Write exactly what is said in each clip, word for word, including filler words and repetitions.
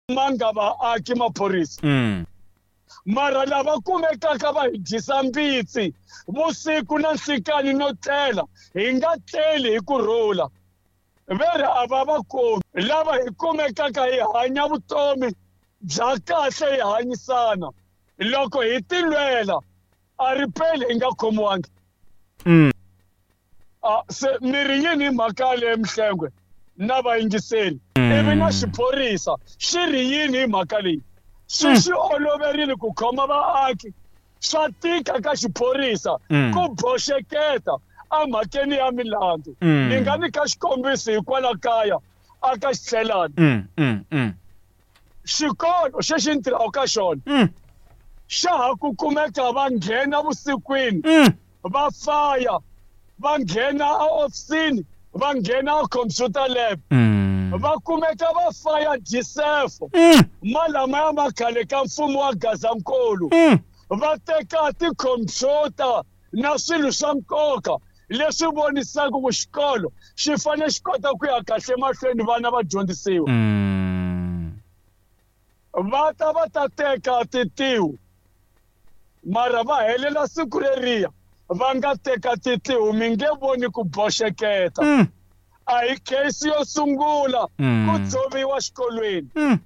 Manga vaaki maphorisa. Mm. Mara lava kumekaka va hi dyisa mbitsi vusiku na nhlikani no tlela hi nga tleli hi ku rhula ve ri a va va komi lava hi kumekaka hi hanya vutomi bya kahle hi hanyisana loko hi tilwela a ri peli hi nga khomiwangi. Mm. A se mi ri yini hi mhaka leyi Mhlengwe na vayingiseri ivi na xiphorisa xi ri yini hi mhaka leyi swi swi oloverile ku khoma vaaki swa tika ka xiphorisa Mm. ku boxeketa emhakeni ya milandzu. Mm. Ni nga nyika xikombiso hikwala kaya a ka Xitlhelani. Mm, mm, mm. Xikolo xexi ni tirhaka ka xona Mm. xa ha ku kumeka va nghena vusikwini Mm. va faya va nghena ehofisini va nghena computer lab Mm. va kumeka va faya disefo Mm. malama ya makhale ka mfumo wa Gazankulu Mm. va teka tikhompyuta na swilo swa nkoka leswi vonisaka ku xikolo xi fanele xi kota ku ya kahle mahlweni vana va dyondzisiwa. Mm. Va ta va ta teka titihu mara va helela siku leriya va nga teka titihu mi nge voni ku boxeketa. Mm. A hi case yo sungula Mm. ku dzoviwa xikolweni. Mm.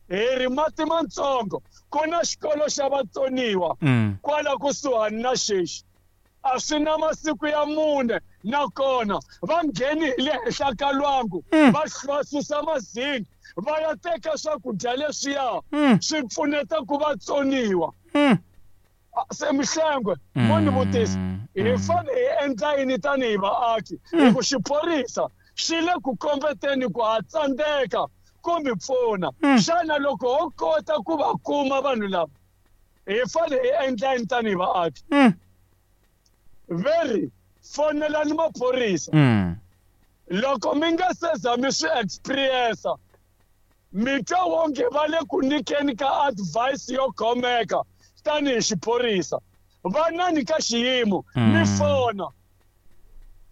Hi ri mati matsongo ku na xikolo xa vatsoniwa Mm. kwala kusuhani na xexi a swi na masiku ya mune nakona va ngheni hi le henhla ka lwangu Mm. va va susa mazingi va ya teka swakudya leswiya Mm. swi pfuneta ku vatsoniwa. Mm. Se Mhlengwe mo ni vutisa hi fanele hi endla yini tanihi vaaki hi ku xiphorisa xi le ku kombeteni ku ha tsandzeka ku mi pfuna. Xana loko ho kota ku va kuma vanhu lava hi fanele hi endla yini tanihi vaaki? Mm. Ve ri fonelani maphorisa. Mm. Loko mi nga se za mi swi experience mi twa wonge va le ku nyikeni ka advice yo khomeka tanihi xiphorisa vanani ka xiyimo mi fona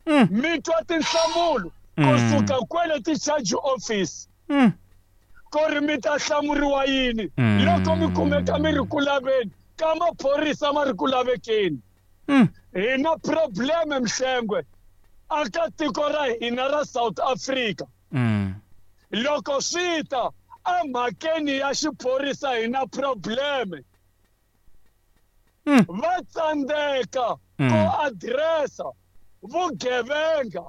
Mm. mi twa tinhlamulo kusuka kwele ti-charge office Mm. ku ri mi ta hlamuriwa yini Mm. loko mi kumeka mi ri ku laveni ka maphorisa ma ri ku lavekeni. Mm. Hi na probleme Mhlengwe aka tiko ra hina ra South Africa. Mm. Loko swi ta emhakeni ya xiphorisa hi na probleme. Mm. Va tsandzeka Mm. ku addressa vugevenga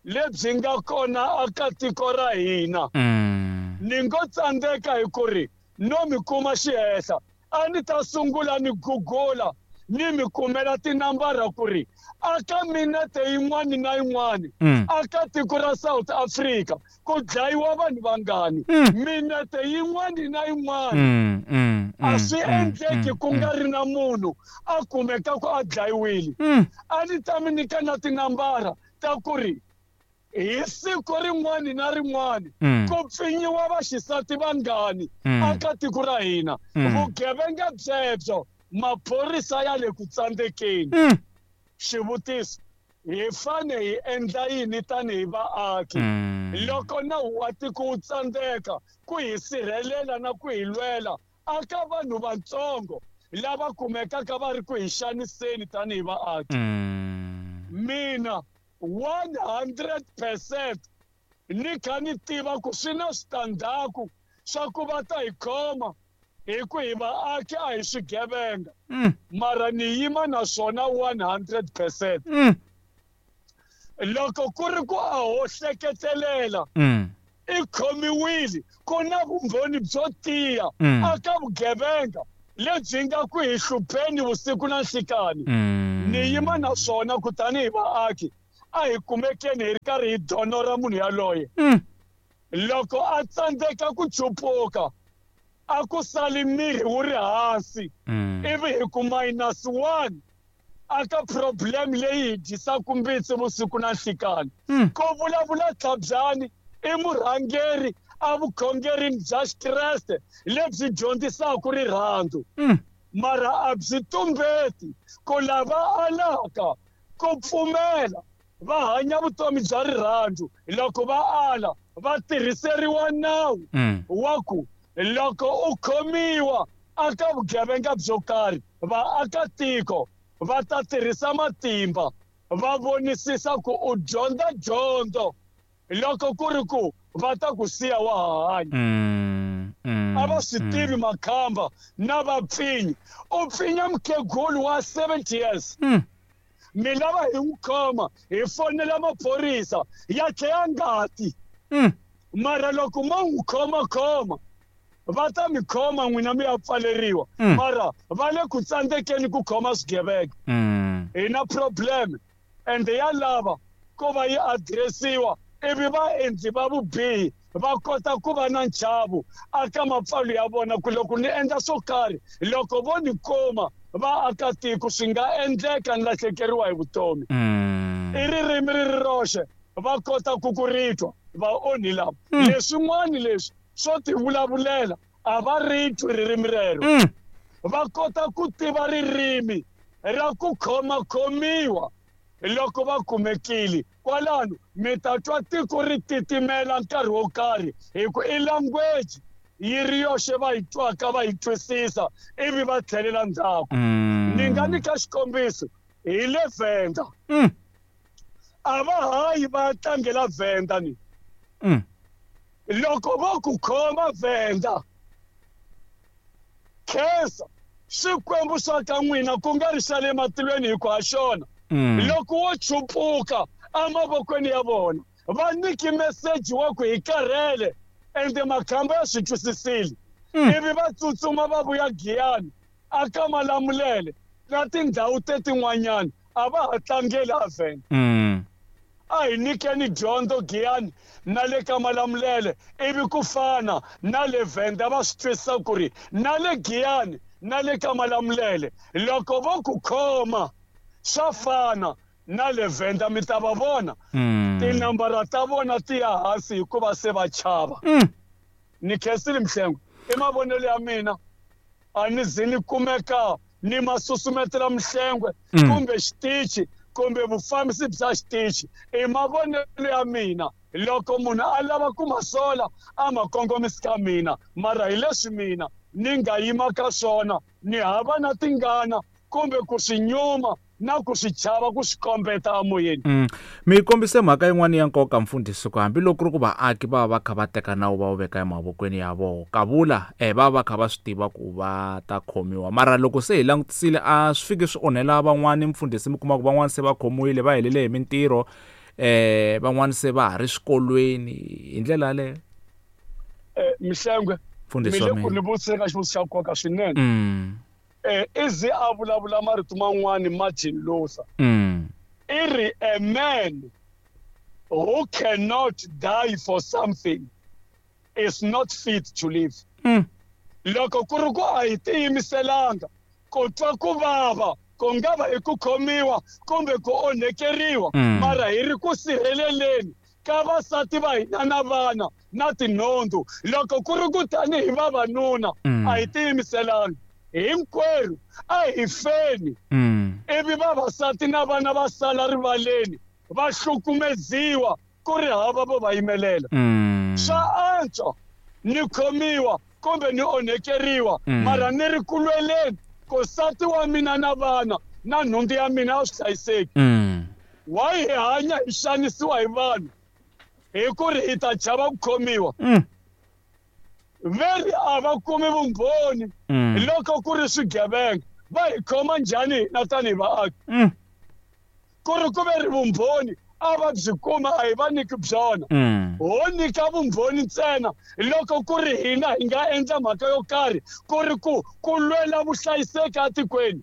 lebyi nga kona aka tiko ra hina. Mm. Ni ngo tsandzeka hi ku ri no mi kuma xihehla a ni ta sungula ni gugula ni mi kumela tinambara ku ri aka minete yin'wani na yin'wani Mm. aka tiko ra South Africa ku dlayiwa vanhu vangani Mm. minete yin'wani na yin'wani Mm. Mm. a swi Mm. endleki ku nga ri na munhu a kumeka ku a dlayiwile. Mm. A ni ta mi nyika na tinambara ta ku ri hi siku rin'wani na rin'wani Mm. ku pfinyiwa vaxisati vangani Mm. aka tiko ra hina. Mm. Vugevenga byebyo maphorisa ya le ku tsandzekeni. Mm. Xivutiso hi fane hi endla yini tanihi vaaki Mm. loko nawu wa tiko wu tsandzeka ku hi sirhelela na ku hi lwela aka vanhu vatsongo lava kumekaka va ri ku hi xaniseni tanihi vaaki? Mm. Mina one hundred percent ni kha ni tiva ku swi na switandzhaku swa ku va ta hi khoma hi ku hi vaaki a hi swigevenga. Mm. Mara ni yima na swona one hundred percent. Mm. Loko ku ri ku a ho hleketelela Mm. i khomiwile ku na vumbhoni byo tiya Mm. aka vugevenga lebyi nga ku hi hlupheni vusiku na nhlikani. Mm. Ni yima na swona ku tanihi vaaki a hi kumekeni hi ri karhi hi donora munhu yaloye. Mm. Loko a tsandzeka ku chupuka a ku sali mirhi wu ri hansi Mm. ivi hi ku minus one aka problem leyi hi dyisaka mbitsi vusiku na nhlikani. Mm. Ku vulavula Tlhabyani i murhangeri a vukhongerini bya Xikreste lebyi dyondzisaka rirhandzu. Mm. Mara a byi tumbeti ku lava alaka ku pfumela va hanya vutomi bya rirhandzu loko va ala va tirhiseriwa nawu Mm. wa ku Loko u khomiwa aka vugevenga byo karhi, vaakatiko va ta tirhisa matimba va vonisisa ku u dyondza dyondzo loko ku ri ku va ta ku siya wa ha hanya. Mm, mm, A va swi mm. tivi makhamba na vapfinyi. U pfinya mukhegulu wa seventy years. Mm. Mi lava hi n'wi khoma hi fonela maphorisa ya tlheya ngati. Mm. Mara loko mo n'wi khomakhoma va ta mi khoma n'wina mi ya pfaleriwa. Mm. Mara va le ku tsandzekeni ku khoma swigevenga. Mm. Hi na problem ende ya lava ku va yi addressiwa ivi vaendli va vubihi va kota ku va na nchavo aka mapfalo ya vona ku loko ni endla swo karhi loko vo ni kuma vaakatiko swi nga endleka ni lahlekeriwa hi vutomi. Mm. I ririmi ri ri roxe va kota ku ku ri twa vaonhi lava. Mm. Leswin'wana leswi swo tivulavulela a va ri twi ririmi rero. Mm. Va kota ku tiva ririmi ra ku khomakhomiwa loko va kumekile. Kwalano mi ta twa tiko ri titimela nkarhi wo karhi hi ku i language yi ri yoxe va yi twaka va yi twisisa ivi va tlhelela ndzhaku. Mm. Ni nga nyika xikombiso hi le Venda. Mm. A va hayi va tlangela Venda ni. Mm. Loko vo ku khoma Venda, khensa Xikwembu xa ka n'wina ku nga ri xa le matilweni hi ku ha xona. Mm. Loko wo chupuka emavokweni ya vona va nyiki meseji wa ku hi karhele ende makhamba ya swi twisisile. Mm. Ivi va tsutsuma va vuya Giyani aka Malamulele na tindhawu tetin'wanyana a va ha tlangeli a Venda. Mm. A hi nyikeni dyondzo Giyani na le ka Malamulele ivi ku fana na le Venda va swi twisisa ku ri na le Giyani na le ka Malamulele loko vo ku khoma swa fana na le Venda mi ta va vona. Mm. Tinambara ta vona ti ya hansi hikuva se va chava. Mm. Ni khensile Mhlengwe, i mavonelo ya mina a ni zi ni kumeka ni ma susumetela Mhlengwe Mm. kumbe xitichi kumbe vufambisi bya xitichi. I mavonelo ya mina loko munhu a lava ku ma sola a ma kongomisi ka mina, mara hi leswi mina ni nga yima ka swona ni hava na tingana kumbe ku swi nyuma na ku swi chava ku swi kombeta emoyeni. Mm. Mi kombise mhaka yin'wana ya nkoka mfundhisi ku hambiloko ku ri ku vaaki va va kha va teka nawu va wu veka emavokweni ya vona kavula eh va va kha va swi tiva ku va ta khomiwa, mara loko se hi langutisile a swi fiki swi onhela van'wani mfundhisi, mi kuma ku van'wani se va khomiwile va helele hi mintirho, eh van'wani se va ha ri swikolweni hi ndlela yaleyo. Eh Mhlengwe, Mfundhisi mi wa le ku mina. ni vutiseni ka xivutiso xa nkoka swinene. Mm. Eh i ze a vulavula marito man'wani Martin Luther. Mm. I ri a man who cannot die for something is not fit to live. Mm. Loko ku ri ku a hi tiyimiselanga ku twa ku vava ku nga va hi ku khomiwa kumbe ku onhekeriwa, Mm. mara hi ri ku sirheleleni ka vasati va hina na vana na tinhundzu. Loko ku ri ku tanihi vavanuna Mm. a hi tiyimiselanga hinkwerhu a hi feni. Mm. Ivi vavasati na vana va sala rivaleni va hlukumeziwa ku ri hava vo va yimelela. Mm. Swa antswa ni khomiwa kumbe ni onhekeriwa, Mm. mara ni ri ku lweleni ku nsati wa mina na vana na nhundzu ya mina a swi hlayiseki. Mm. Why hi hanya hi xanisiwa hi vanhu hi ku ri hi ta chava ku khomiwa? Mm. Veri a va kumi vumbhoni. Mm. Loko ku ri swigevenga va hi khoma njhani hina tanihi vaaki? Mm. Ku ri ku ve ri vumbhoni a va byi kuma a hi va nyiki byona. Mm. Ho nyika vumbhoni ntsena loko ku ri hina hi nga endla mhaka yo karhi ku ri ku ku lwela vuhlayiseki etikweni.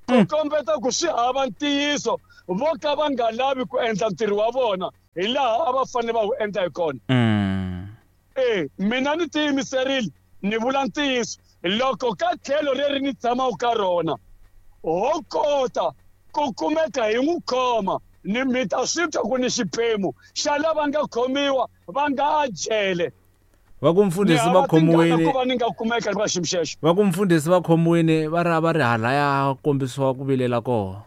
Ku Mm. kombeta ku swi hava ntiyiso vo ka va nga lavi ku endla ntirho wa vona hi laha a va fanele va wu endla hi kona. Mm. Eh, mina ni tiyimiserile ni vula ntiyiso loko ka tlhelo leri ni tshamaka ka rona ho kota ku kumeka hi n'wi khoma ni mi ta swi twa ku ni xiphemu xa lava nga khomiwa va nga a jele. Va ku mfundhisi va khomiwile ku va ni nga kumeka eka xiyimo xexo. Va ku mfundhisi va khomiwile va ri va ri halaya kombisiwa ku vilela kona.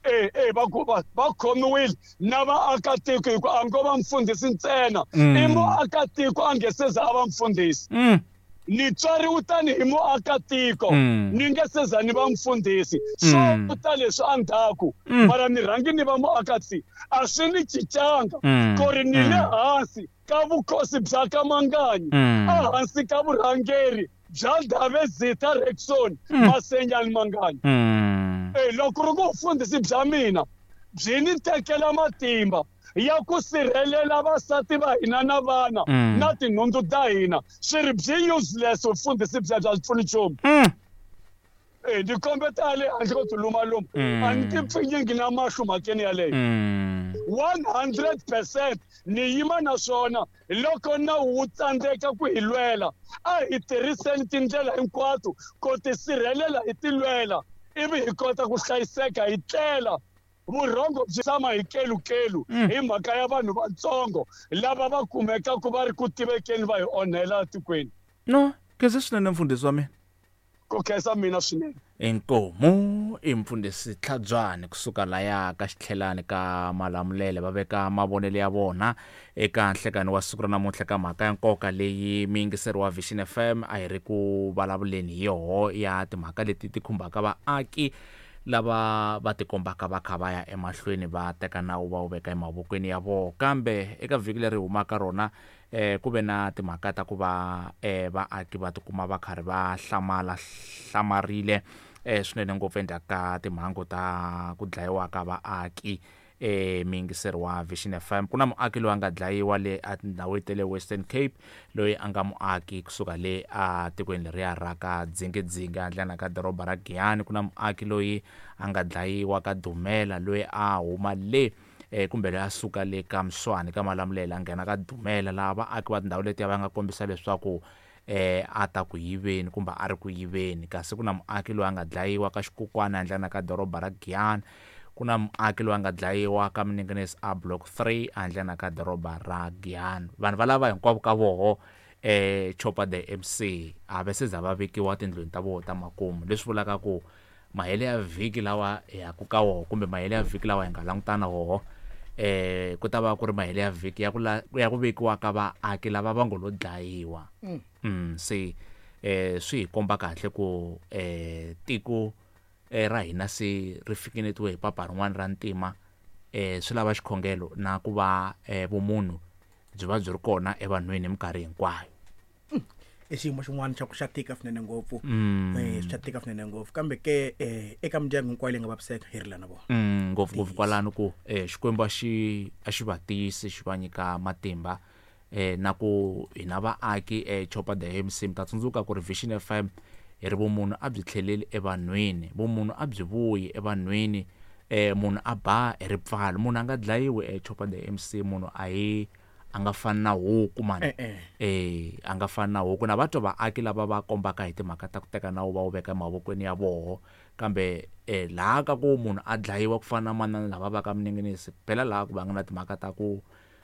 Eh eh va ku va va khomiwile na vaakatiko hi ku a ngo va mfundhisi ntsena. Mm. I muakatiko a nge se za a va mfundhisi. Mm. Ni tswariwe tanihi muakatiko Mm. ni nge seza ni va mfundhisi so Mm. ta leswi endzhaku Mm. mara ni rhangi ni va muakatsi a swi ni cincanga Mm. ku ri ni le Mm. hansi ka vukosi bya ka Manganyi Mm. ehansi ka vurhangeri bya Ndhavezitha Rexon Mm. Masenyani Manganyi Mm. Eh, loko ri ku vufundhisi bya mina byi ni tekela matimba ya ku sirhelela vasati va hina na vana Mm. na tinhundzu ta hina swi ri byi useless vufundhisi bya bya pfuni nchumu Mm. Eh, ni kombeta le handle ko tilumaluma Mm. a ni ti pfinyingi na mahlo mhakeni yaleyo Mm. one hundred percent ni yima na swona loko nawu wu tsandzeka ku hi lwela a hi tirhiseni tindlela hinkwato ku tisirhelela hi ti lwela ivi hi kota ku hlayiseka hi tlela vurhongo byi tshama hi kelukelu Mm. hi mhaka ya vanhu vatsongo lava va kumekaka va ri ku tivekeni va hi onhela etikweni No, khensa swinene mfundhisi wa mina. ku khensa mina swinene Inkomu i mfundhisi Tlhabyani kusuka laya ka xitlhelani ka Malamulele va veka mavonelo ya vona eka nhlekani wa siku ra namuntlha ka mhaka ya nkoka leyi miyingiseri wa Vision F M a hi ri ku vulavuleni hi yoho ya timhaka leti ti khumbaka vaaki lava va tikombaka va kha va ya emahlweni va teka nawu va wu veka emavokweni ya vona kambe eka vhiki leri humaka rona eh ku ve na timhaka ta ku va eh vaaki va tikuma va karhi va hlamala hlamarile eh swinene ngopfu endzhaku ka timhangu ta ku dlayiwa ka vaaki eh miyingiseri wa Vision F M ku na muaki loyi a nga dlayiwa le a tindhawini ta le Western Cape loyi a nga muaki kusuka le a tikweni leriya ra ka Dzingidzingi handlena ka doroba ra Giyani ku na muaki loyi a nga dlayiwa ka Dumela loyi a huma le eh kumbe loyi a suka le ka Mswani ka Malamulele a nghena ka Dumela laha vaaki va tindhawu letiya va nga kombisa leswaku eh a ta ku yiveni kumbe a ri ku yiveni kasi ku na muaki loyi a nga dlayiwa ka Xikukwana handlena ka doroba ra Giyani ku na muaki loyi a nga dlayiwa ka Minengenesi a block three handlena ka doroba ra Giyani vanhu valava hinkwavo ka voho eh Chopper the M C a va se za va vekiwa tindlwini ta voho ta makumu leswi vulaka ku mahele ya vhiki lawa hi ya ku ka woho kumbe mahele ya vhiki lawa hi nga langutana woho eh ku ta va ku ri mahele ya vhiki ya ku la ya ku vekiwa ka vaaki lava va ngo lo dlayiwa Mm. mm se eh swi hi komba kahle ku eh tiko eh ra hina se ri fikeletiwe hi papa rin'wana ra ntima eh swi lava xikhongelo na ku va eh vumunhu byi va byi ri kona evanhwini hi minkarhi hinkwayo I xiyimo xin'wana xa ku xa tika swinene ngopfu Mm. eh swi xa tika swinene ngopfu kambe ke eh eka mindyangu hinkwayo leyi nga vaviseka hi rila na vona Mm, ngopfungopfu kwalano ku eh Xikwembu a xi a xi va tiyisi xi va nyika matimba eh na ku hina vaaki eh Chopper the M C mi ta tsundzuka ku ri Vision F M hi ri vumunhu a byi tlheleli evanhwini vumunhu a byi vuyi evanhwini eh munhu a ba hi ripfalo munhu a nga dlayiwi eh Chopper the M C munhu a hi a nga fani na huku mani Eh, eh. eh a nga fani na huku na va twa vaaki lava va kombaka hi timhaka ta ku teka nawu va wu veka emavokweni ya voho kambe eh laha ka ku munhu a dlayiwa ku fana na manana lava va ka Minengenesi phela laha ku va nga na timhaka ta ku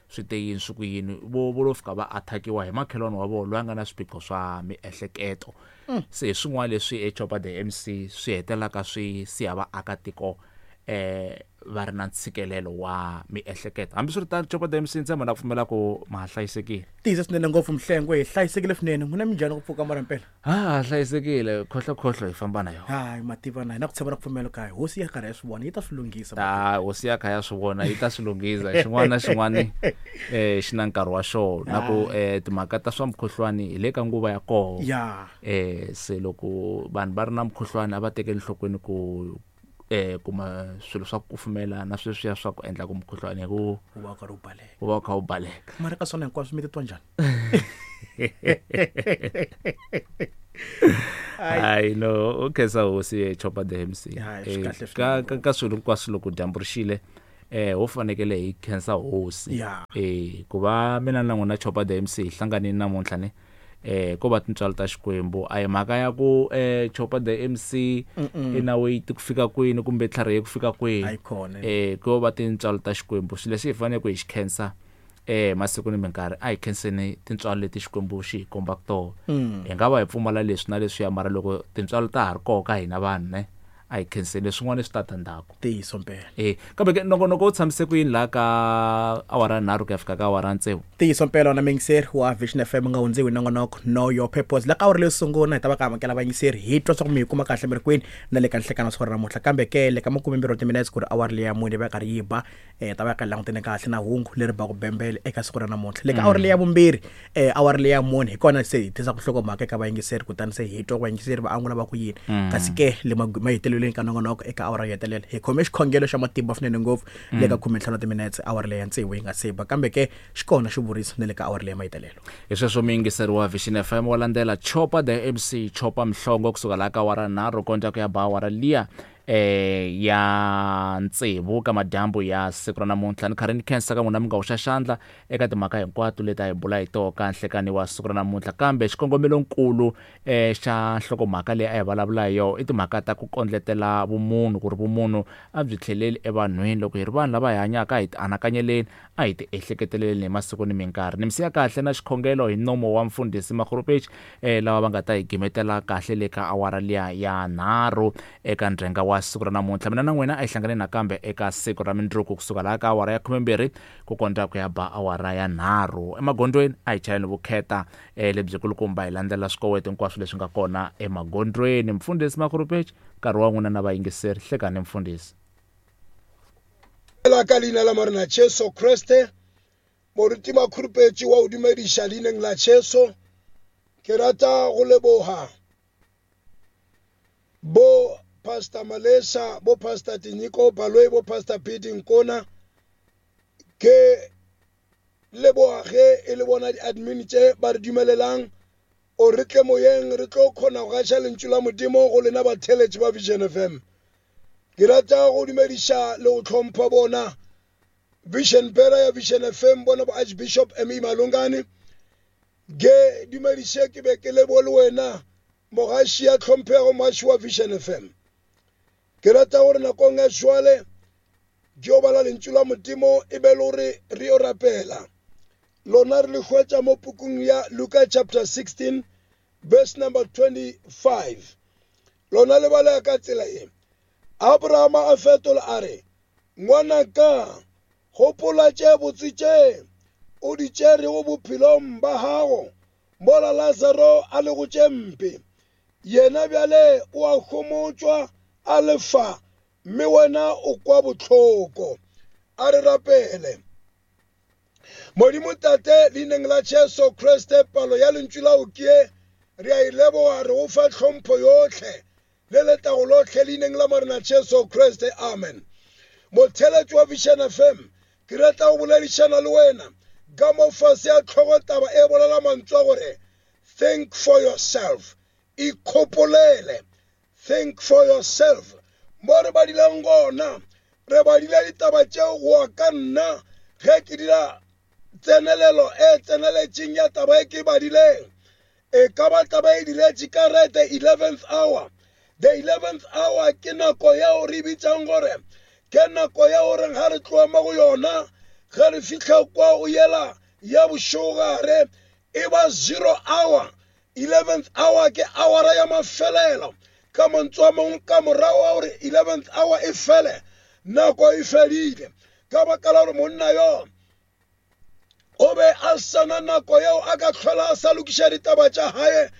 swi te yini swi ku yini vo vo lo fika va attackiwa hi makhelwani wa vona loyi a nga na swiphiqo swa miehleketo se hi swin'wana leswi e Chopper the M C swi hetelelaka swi siya vaakatiko eh va ri na ntshikelelo wa miehleketo hambiswiritano Chopper the M C ntshemba na pfumela ku ma ha hlayisekile tiyisa swinene ngopfu mhlengwe hi hlayisekile swinene n'wina minjhani ku pfuka mara mpela ha hlayisekile khohlokhohlo hi famba na yona hayi mativa na hi na ku tshemba na ku pfumela ka hosi ya karhi ya swi vona yi ta swi lunghisa ta hosi ya kha ya swi vona yi ta swi lunghisa xin'wana na xin'wana eh xi na nkarhi wa xona na ku eh timhaka ta swa mukhuhlwani hi le ka nguva ya koho ya eh se loko vanhu va ri na mukhuhlwani a va tekeli enhlokweni ku eh kuma swilo swa ku kufumela na sweswiya swa ku endla ku mukhuhlwani hi ku wu va wu karhi wu baleka wu va wu kha wu baleka mara ka swona hinkwaswo mi titwa njhani hayi no u khensa hosi eh, Chopper the M C Hayi, swi Eh, kahle ka swinene ka ka swilo hinkwaswo loko dyambu ri xile eh ho fanekele hi khensa hosi Ya. eh ku va mina na n'wina Chopper the M C hi hlanganile namuntlha ne eh ko va tintswalo ta Xikwembu a hi mhaka ya ku eh Chopper the M C i na weight ku fika kwini kumbe tlharihe ku fika kwini A yi kona. eh ko va tintswalo ta Xikwembu swilo leswi hi faneleke ku hi xi khensa eh masiku ni minkarhi a hi khenseni tintswalo leti Xikwembu xi hi kombaka tona hi nga va hi pfumala leswi na leswiya mara loko tintswalo ta ha ri koho ka hina vanhu ne A hi khenseni leswin'wana swi ta ta ndzhaku. Ntiyiso mpela. Eh kambe ke nongonoko wu tshamise ku yini laha ka awara nharhu ku ya fika ka awara tsevu? Ntiyiso mpela na muyingiseri wa Vision F M nga hundziwi nongonoko Know Your Purpose. La ka awara leyo sungula hi ta va ka amukela vayingiseri hi twa swa ku mi yi kuma kahle mi ri kwini na le ka nhlekano wa siku ra namuntlha. Kambe ke le ka makumembirhi wa timinetse ku ri awara leya mune va karhi yi ba eh ta va ka langutene kahle na hungu leri ba ku bembele eka siku ra namuntlha. Le ka awara leya vumbirhi eh awara leya mune hi kona se hi tisa ku hlokomhaka eka vayingiseri kutani se hi twa ku vayingiseri va angula va ku yini. Kasi ke le mahetelelweni ka nongonoko eka awara yo hetelela hi khome xikhongelo xa matimba swinene ngopfu le ka khumentlhanu timinetse awara leya tsevu yi nga se ba. Kambe ke xi kona xivuriso na le ka awara leya mahetelelo. Hi sweswo muyingiseri wa Vision F M wa landzela Chopa the M C Chopa Mhlongo kusuka laha ka awara nharhu konta ku ya ba awara liya eh ya tsevu ka madyambu ya siku ra namuntlha. Ni karhi ni khensa ka n'wina mi nga hoxa xandla eka timhaka hinkwato leti a hi bula hi toho ka nhlekani wa siku ra namuntlha. Kambe xikongomelonkulu eh xa nhlokomhaka leyi a hi vulavula hi yona i timhaka ta ku kondletela vumunhu, ku ri vumunhu a byi tlheleli evanhwini. Loko hi ri vanhu lava hi hanyaka hi ti anakanyeleni, a hi ti ehleketeleleni hi masiku ni minkarhi. Ni mi siya kahle na xikhongelo hi nomo wa mfundhisi Makhurupetshi eh lava va nga ta hi gimetela kahle le ka awara liya ya nharhu eka ndrenga wa siku ra namuntlha. Mina na n'wina a hi hlangane nakambe eka siku ra mindzuku kusuka laha ka awara ya khumembirhi ku kondza ku ya ba awara ya nharhu. Emagondzweni a hi chayeni vukheta eh lebyikulukumba hi landzela swikoweto hinkwaswo leswi nga kona emagondzweni. Mfundhisi Makhurupetshi, nkarhi wa n'wina na vayingiseri. Hlekani mfundhisi. La ka leina la Morena Jesu Kriste, moruti Makhurupetshi wa o dumediša leineng la Jesu. Ke rata go leboha bo Pastor Malesa, bo Pastor Tinyiko Baloyi, bo Pastor Pidi Nkona. Ke leboha ge e le bona di-admin tše ba re dumelelang o re tle moyeng re tlo kgona go gaša lentšu la Modimo go lena batheeletši ba Vision F M. Ke rata go dumediša le go hlompha bona Vision Pera ya Vision F M, bona bo Archbishop M E Malungane. Ke dumediše ke be ke lebohe le wena mogaši ya tlhomphego mogaši wa Vision F M. Ke rata gore nakong ya jwale ke yo bala lentšu la Modimo e be le gore re yo rapela. Lona re le hwetša mo pukung ya Luka chapter sixteen verse number twenty-five. Lona le bala ka tsela ye. Abrahama a fetola a re, ngwanaka, gopola tše botse tše o di tšerego bophelong ba gago mola Lazaro a le go tše mpe. Yena bjale o a homotšwa a lefa, mme wena o kwa bohloko. A re rapele. Modimo Tate, leineng la Jesu Kriste, palo ya lentšu la o ke re a e leboha, re go fa tlhompho yohle le letago lohle leineng la Morena Jesu Kriste, amen. Motheeletši wa Vision F M, ke rata go boledišana le wena ka mo fase ya tlhogotaba e bolela mantswe a gore think for yourself, ikgopolele. Think for yourself. Mo re badileng gona, re badile ditaba tšeo go ka nna ge ke dira tsenelelo e tseneletšeng ya taba e ke badileng. E ka ba taba e diretše ka re the eleventh hour. The eleventh hour ke nako yeo re bitsang gore ke nako ya gore ga re tloa mo go yona, ge re fihla kwa o yela ya bošegogare e ba zero hour. eleventh hour ke hour ya mafelelo. Ka mantswe a mangwe, ka morago ga gore eleventh hour e fele, nako e fedile. Ka baka la gore monna yo o be a sana nako yeo a ka tlhola a sa lokiša ditaba tša hae.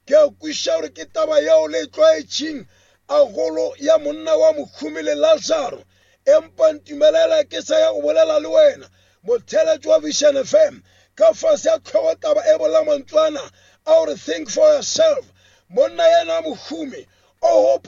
Ke a kwešiša gore ke taba yeo le tlwaetšeng agolo ya monna wa mohumi le Lazaro. Empa ntumelela ke sa ya go bolela le wena motheeletši wa Vision F M ka fase ya tlhogotaba e bolela mantswana a gore think for yourself. Monna yena mohumi o o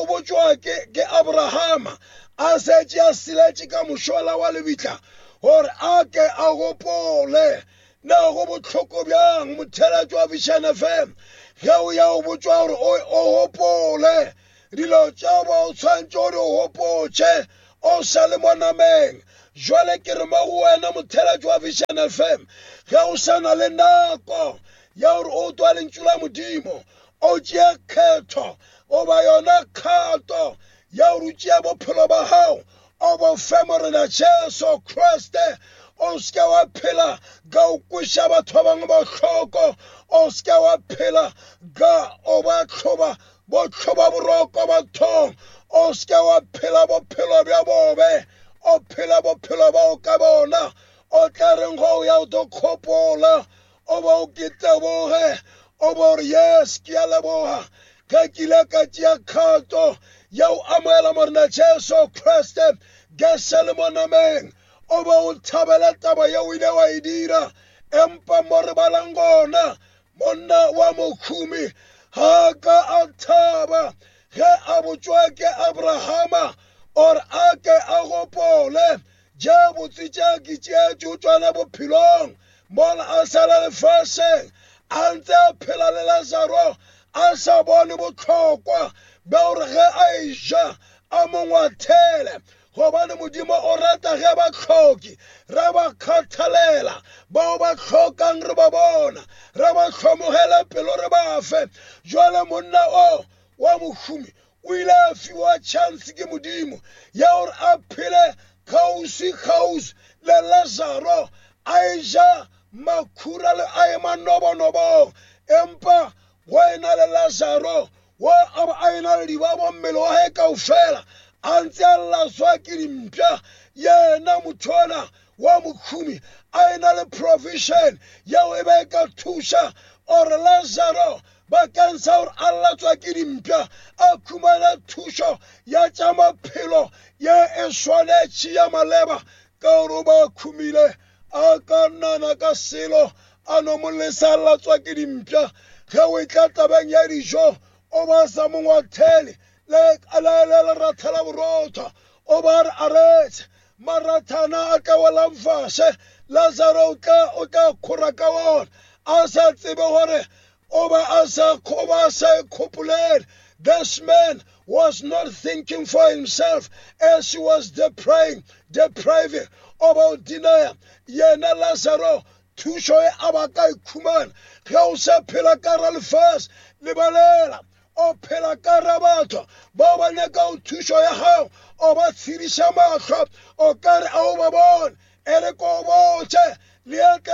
botšwa ke ke Abrahama a setše a siletše ka mošola wa lebitla gore a ke a gopole. Na go bohloko bjang motheeletši wa Vision F M ge o ya o botšwa gore o gopole dilo tša ba o tshwanetše gore o gopotše o sa le mo nameng. Jwale ke re mo go wena motheeletši wa Vision F M, ge o sa na le nako ya gore o twa lentšu la Modimo, o tšea kgetho goba yona kgato ya gore o tšea bophelo ba gago o bo fe Morena Jesu Kriste. O se ke wa phela ka o kweša batho ba bangwe bohloko, o se ke wa phela ka o ba hloba Bo tlhoba boroko bathong, o seke wa phela bophelo bja bobe, o phela bophelo ba o ka bona, o tla reng go ya o tlo kgopola, o ba o ke teboge, o ba ore yes, ke a leboga ge ke ile ka tšea kgato ya o amohela Morena Jesu Kriste ge se le mo nameng. O ba o thabela taba yeo o ile wa e dira. Empa mo re balang gona, monna wa mokhumi ga ka a thaba ge a botšwa ke Abrahama or a ke a gopole tše botse tše ke tšeetše tšona bophelong mola a sala lefaseng a ntse a phela le Lazaro a sa bone bohlokwa bja gore ge a eja a mo ngwathele. Gobane Modimo o rata ge ba hloki re ba kgathalela, bao ba hlokang re ba bona, re ba hlomogele pelo re ba fe. Jwale monna o wa mohumi o ile a fiwa chance ke Modimo ya gore a phele kgauswi kgauswi le Lazaro, a eja makhura le a ema nobonobong. Empa go ena le Lazaro wa a ba a ena le dibabo mmele wa hae kaofela, a ntse a laswa ke dimpša. Yena motho ona wa mokhumi a ena le provision yeo e be e ka thuša ore Lazaro bakeng sa gore a latswa ke dimpša a khumana thušo ya tša maphelo ye e swanetše ya maleba, ka gore o ba khumile a ka nana ka selo a no mo lesa a latswa ke dimpša. Ge o etla tabeng ya dijo o ba sa mo ngwathele le le leratha la borotho, o ba re aretse marathana a tla welang fase, Lazaro o tla o tla khora ka ona a sa tsebe gore o ba a sa o ba a sa ikgopolele. This man was not thinking for himself as he was depriving, depriving about denial. Yena Lazaro thušo e a ba ka ikhumana. Ge o sa phela ka ra lefase, lebalela o phela ka ra batho bao ba nyaka thušo ya gago, o ba tshediša mahlo o ka re a o ba bone. E re ko botše le